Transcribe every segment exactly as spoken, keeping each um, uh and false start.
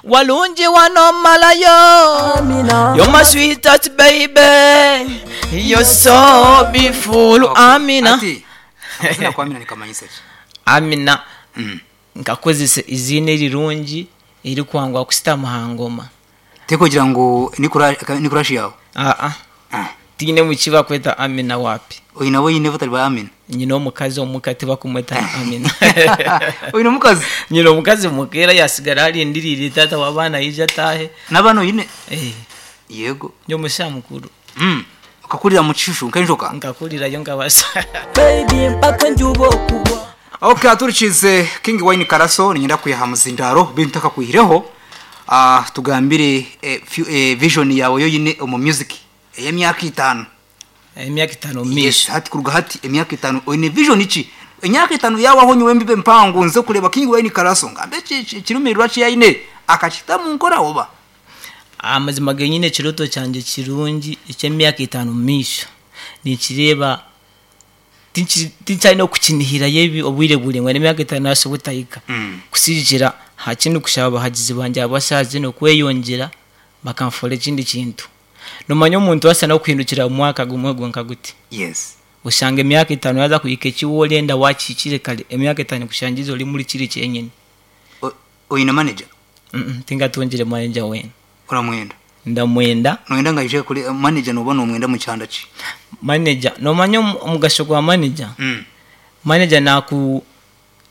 Walungi wanomalayo. Amina. You're my sweetheart baby. You're so beautiful. Okay. Amina. Ati, akazina kwa Amina nikamanyisa ki? Amina. Mm. Nkakozesa izina erirungi erikwangwa kusitama aha ngoma. Tekugira ngu ni kura- ni kurashi yawe. Aa. Ah. Tiine muki bakweta Amina wapi. Oyina we yine batari ba Amina. Nyina omukazi omuka tibakumweta Amina. Oyina omukazi Nyina omukazi mukeera yasigara arindiriire taata w'abaana yija ataahe. n'abaana oyine. Eh, Yego. ndi omusha mukuru. Mm. Okakurira mu kishushu nk'enjoka. Nkakurirayo nkabasa. Baby mpaka njuba okugwa. Okay, aturikize King Wine Karaso ninyenda kwiha muzindaro bintu takakwihireho. Ah, tugambire eh, few- eh, vision yawe yoyine omu music ey'emyaka itaano. Emyaka itaano Yes, misho. hati kuruga hati emyaka itaano oyine vision ki? Emyaka itaano yawaho nyowe mbibe mpango nze kureba King Wine Karaso ngambe ki- ki- kirumirwa ki yayine akakita mu nkora oba. Amazima genyine ekiroto kyangye kirungi eky'emyaka itaano misho. Nikireeba tinki- tinkyalina okukinihirayo ebi obwire buraingwa n'emyaka itaano yasobola otahika. Mm. Kusigira hakindi kushaba abahagizi bangye abasaazi n'okweyongyera bakanfoora ekindi kintu. Nomanya omuntu asa n'okuhindukira mu mwaka gumwe gwonka guti. Yes. Oshanga emyaka itaano yaza kuhika eki worenda wakihikire kare emyaka itaano ekushangize ori muri kiri kyenyine. O- Oyine manager Mm, tingatungire manager weena. oramwenda. Ndamwenda Noyenda nga ije kuri manager noba nomwenda mu kyanda ki? manager nomanya omu- omugasho gwa manager. Mm. Manager naku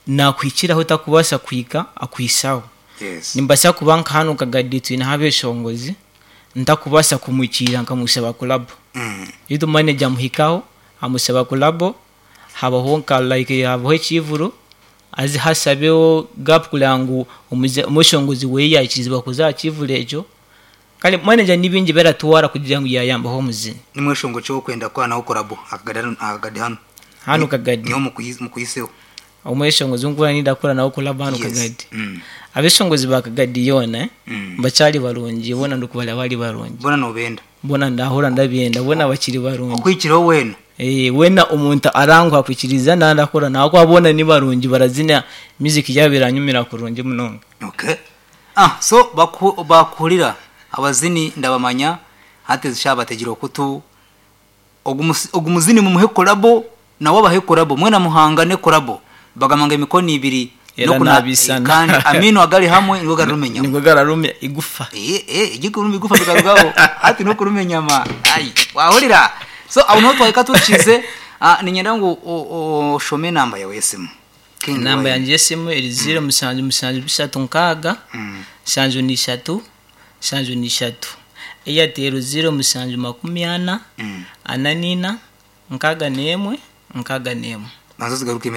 nakuhikiraho otakubaasa kuhika akwisaho. Yes. Nimbasa kuba nka hanu Kagadi twineho abeshongozi ntakubaasa kumwikiira nkamushaba collabo. Mm. Itwe manager amuhikaho amushaba collabo habaho nka like habaho ekivuro azi hasabeho gap kugira ngu omuze- omweshongozi weye yakirizibwa kuza aha kivuro ekyo. Kale manager ni bingi beratwara kugira ngu yayambaho omuzini. Nimweshongo cyo kwenda kwanaho collabo akagadi hano akagadi hano. Hanu Kagadi. Niho mukuyiz- mukuyiseho. Omweshongozi nkuba nindakora nawe collabo hanu Yes. Kagadi. Mm. Abeshongozi ba Kagadi yoona eh, Mm. bakyari barungi bona ndikubara bari barungi. Bona nobenda. Bona ndahura ndabyenda bona bakiri barungi. Okwikiraho wena. Eh, wena omuntu aranguha kwikiriza nandakora nawe abona ni barungi barazina music yabo iranyumira kurungi munonga. Okay. Ah, so baku, bakuhurira abazini ndabamanya hati zishabategera okutu ogu ogumuzini mumuhe collabo nawe abahe collabo mwena muhangane collabo bagamanga emikono ibiri Era nokuna- nabisana. kandi amino agali hamwe nigo garumenya Nigwe gararumya igufa. eh eh igikuruma igufa bikarugaho hati no kurumenya ma ai wahurira so abo niho twahika tukize ah, ninyenda ngu oshome namba yawe yesimu King Namba Wine. yangye y'esimu eri ziro mushanju mushanju bishatu nkaaga Mm. nshanju n'ishatu nshanju n'ishatu. Airtel ziro mushanju makumi ana Mm. ana n'ina nkaaga n'emwe nkaaga n'emwe. Nazo zigaruka